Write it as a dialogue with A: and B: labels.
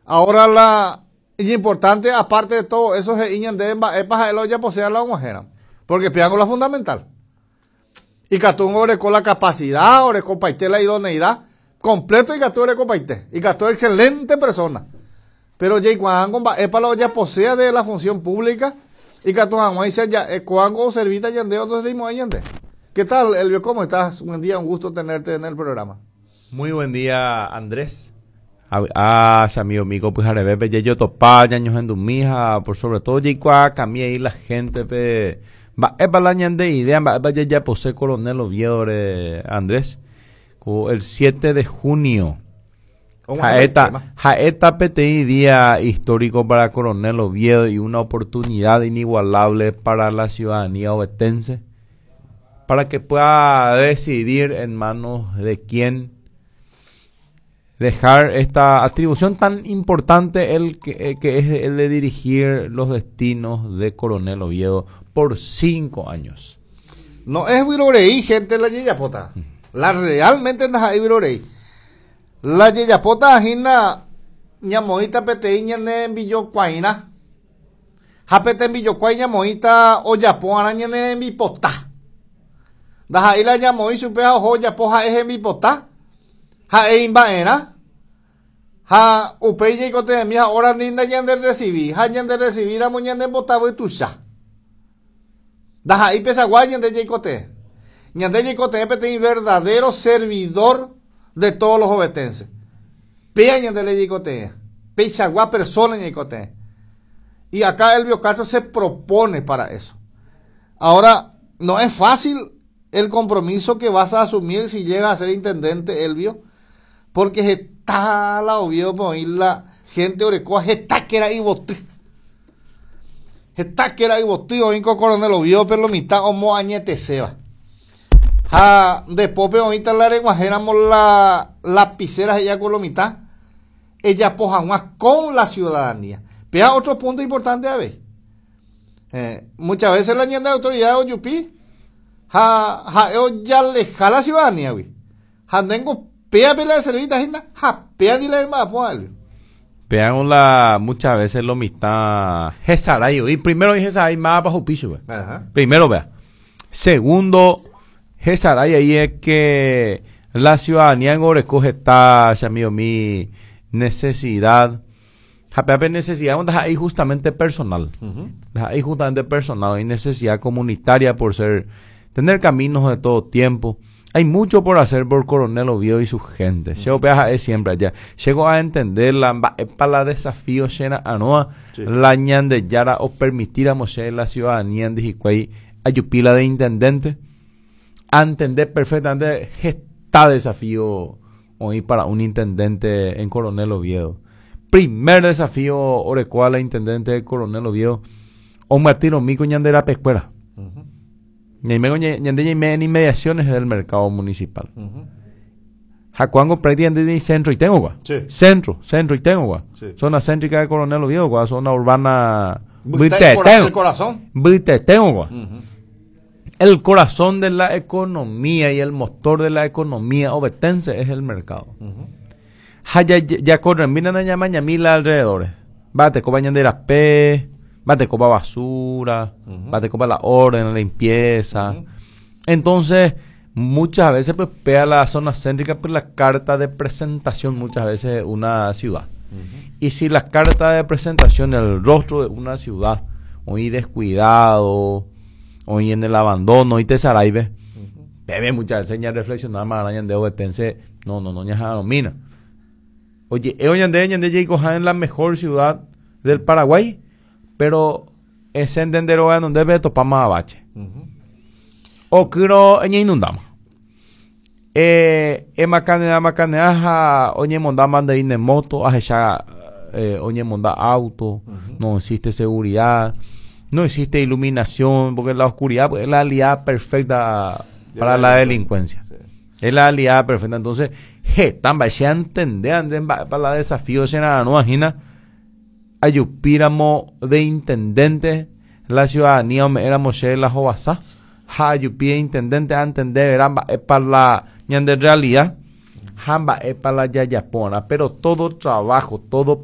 A: Ahora la importante, aparte de todo eso, he'i ñandéve mba'épa ha'e la ojaposéva la og̃uahẽramo. Porque péango la fundamental. Ikatúngo oreko la capacidad, orekopaite la idoneidad, completo ikatu orekopaite. Ikatu excelente persona. Pero jaikuaángo mba'épa la ojaposéva de la función pública, ikatu hag̃uáicha ja'e kóango oservíta ñandéve ndoservimo'ãi ñande. ¿Qué tal, Elvio? ¿Cómo estás? Buen día, un gusto tenerte en el programa.
B: Muy buen día, Andrés. Avy'a che amigo mi ko pyharevépe jajotopa ñañohendumi ha por sobre todo jaikuaakami ahí la gente-pe mba'épa la ñande idea, mba'épa jajapose Coronel Oviedo-re, Andrés, ko el 7 de junio ha'éta, ha'éta peteĩ día histórico para Coronel Oviedo y una oportunidad inigualable para la ciudadanía ovetense para que pueda decidir en manos de quién dejar esta atribución tan importante el que, que es el de dirigir los destinos de Coronel Oviedo por 5 años.
A: No es vyrorei, gente, la jejapóta. La realmente ndaha'éi vyrorei. La jejapóta hína ñamoĩta peteĩ ñane rembijokuairã. Ha pe tembijokuái ñamoĩta ojapo arã ñane rembipota. Ndaha'éi la ñamoĩ chupe ha oho ojapo ha'e hembipota, ha'e imba'erã, ha upéi jaikotevẽmi ha hora ndi ndañanderresivi, ha ñanderresivíramo ñanembotavy tuicha. Ndaha'éi pechagua ñande jaikotevẽ. Ñande jaikotevẽ peteĩ verdadero servidor de todos los ovetenses. Péa ñande le jaikotevẽ. Peichagua persona ñaikotevẽ. Y acá Elvio Castro se propone para eso. Ahora, no es fácil el compromiso que vas a asumir si llegas a ser intendente, Elvio, porque heta la Oviedo oĩ la gente orekóva heta kéra yvoty. Heta kéra yvoty oĩ ko Coronel Oviedo pe lo mitã omoañeteséva. Ha nde pópe oĩta la reg̃uahẽramo la lapicera he'íva ko lo mitã ejapo hag̃ua con la ciudadanía. Péa otro punto importante avei. Muchas veces la ñande autoridad ojupi ha ha'e ojaleja la ciudadanía-gui. Ha ndéngo péape la eservíta hína ha péandi la remba'apo Elvio.
B: Péango la muchas veces lo mitã hesarái oĩ. Primero oĩ hesarái mávapa ohupi chupe. Primero péa. Segundo, hesarái ahí es que la ciudadanía ngo oreko heta che amigo mi necesidad. Ha péape necesidad ndaha'éi justamente personal. Ndaha'éi justamente personal, oĩ necesidad comunitaria por ser, tener caminos de todo tiempo. Hay mucho por hacer por Coronel Oviedo y su gente. Che upéva ha'e siempre aja. Che ko a entender la mba'épa la desafío che ra'arõva la Ñandejára opermitíramo che la ciudadanía ndi hikuái ajupi la de intendente. Antende perfectamente heta desafío oĩ para un intendente en Coronel Oviedo. Primer desafío orekóva la intendente de Coronel Oviedo omyatyrõmi ko ñande rapekuéra. Ñaime ñande ñaime en inmediaciones del mercado municipal. Ha ko'ág̃a prácticamente ni centro itengo kua. Centro, centro itengo kua. Zona céntrica de Coronel Oviedo kua, zona urbana
A: mbytetengo. El corazón.
B: Mbytetengo kua. El corazón de la economía y el motor de la economía ovetense es el mercado. Ha jakorremína ñamañami la alrededores. Mba'etekópa ñande rape, mba'etekópa basura, mba'etekópa la orden, la limpieza. Entonces, muchas veces pues pega la zona céntrica pues la carta de presentación muchas veces de una ciudad. Y si la carta de presentación, el rostro de una ciudad, hoy descuidado, hoy en el abandono, y te saraibe, debe muchas veces ya reflexionar más ñande ovetense, no, no, no, ña mina. Oye, ñande, ñande jaikoha en la mejor ciudad del Paraguay, pero ese entendero donde ve topamos a bache. O kuro inundamos. Emakanea, makanea, ha oñemonda mandaine moto, ahecha oñemonda auto, no existe seguridad, no existe iluminación, porque la oscuridad pues, es la aliada perfecta para la delincuencia. Es la aliada perfecta. Entonces, heta mba'e antende Andrés mba'épa la desafío che ra'arõ hína ajupíramo de intendente la ciudadanía ome'ẽramo chéve la hovasa ha ajupi de intendente antendeverá mba'épa la ñande realidad ha mba'épa la jajaporã pero todo trabajo, todo